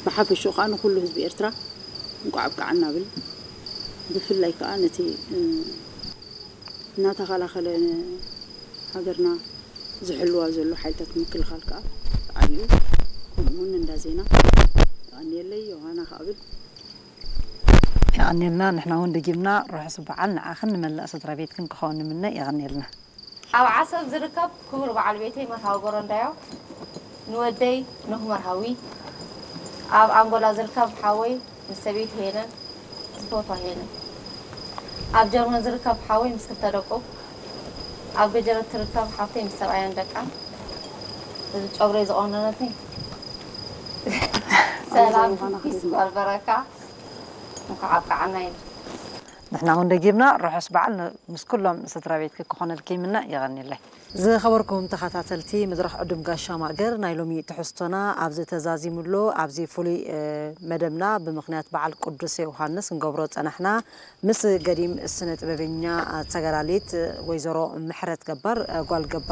ብሓፈሽኡ ከዓ ንኩሉ ህዝቢ ኤርትራ እንኳዕ ኣብቃዓና ብል። ብፍላይ ከዓ ነቲ እናተኸላኸለ ሃገርና ዝሕልዋ ዘሎ ሓይልታት ምክልኻል ከዓ ዓብዩ፣ ከምኡውን እንዳ ዜና። የቐንየለይ ዮሃና ከዓ ብል። የቐንየልና። ንሕና እውን ደጊምና ርሑስ በዓል ንዓኽን ንመላእ ስድራ ቤትክን ክኸውን ንምነ። የቐንየልና። ኣብ ዓሰብ ዝርከብ ክቡር በዓል ቤተይ መርሃዊ በረንዳዮ፣ ንወደይ ኖህ መርሃዊ፣ ኣብ ኣንጎላ ዝርከብ ሓወይ ምስ ሰበይቲ ሄለን፣ ዝፈትዋ ሄለን፣ ኣብ ጀርመን ዝርከብ ሓወይ ምስ ክልተ ደቁ፣ ኣብ ገጀረት ትርከብ ሓብተይ ምስ ሰብኣያን ደቃን፣ እዚ ጨጉረይ ዝቖነነትኒ ሰላም ኪስ በርበረካ እንኳዕ ኣብቃዓና ይብል። ንሕና እውን ደጊምና ርሑስ በዓል ን- ምስ ኩሎም ስድራ ቤትኪ ክኾነልኪ ይምነ። የቐንየለይ። ዝኸበርኩም ተኸታተልቲ መድረኽ ዕዱም ጋሻ ማእገር፣ ናይ ሎሚ ትሕዝቶና ኣብዚ ተዛዚሙ ኣሎ። ኣብዚ ፍሉይ መደብና ብምኽንያት በዓል ቅዱስ ዮሃንስ እንገብሮ ጸናሕና ምስ ገዲም ስነ ጥበበኛ ተጋዳሊት ወይዘሮ ምሕረት ገባር ጓል ገባር